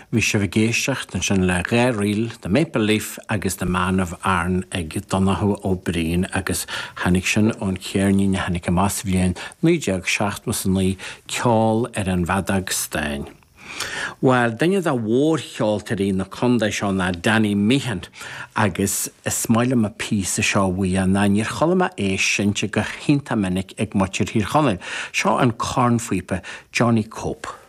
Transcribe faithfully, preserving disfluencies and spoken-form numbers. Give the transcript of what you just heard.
Bhí sibh ag éisteacht ansin le dhá ríl, The Maple Leaf agus The Man of Aran ag Donnchadh Ó Briain agus tháinig sin ón cheirnín a tháinig amach sa bhliain naoi déag seachtó a naoi ceol ar an bhfeadóg stáin. Well duine de mhórcheoltóirí na contae seo ná Danny Meehan agus is maith liom an píosa seo uaidh ná níor chuala mé é seinnte go hiontach minic ag muintir Thír Chonaill. Seo an cornphíopa Johnny Cope.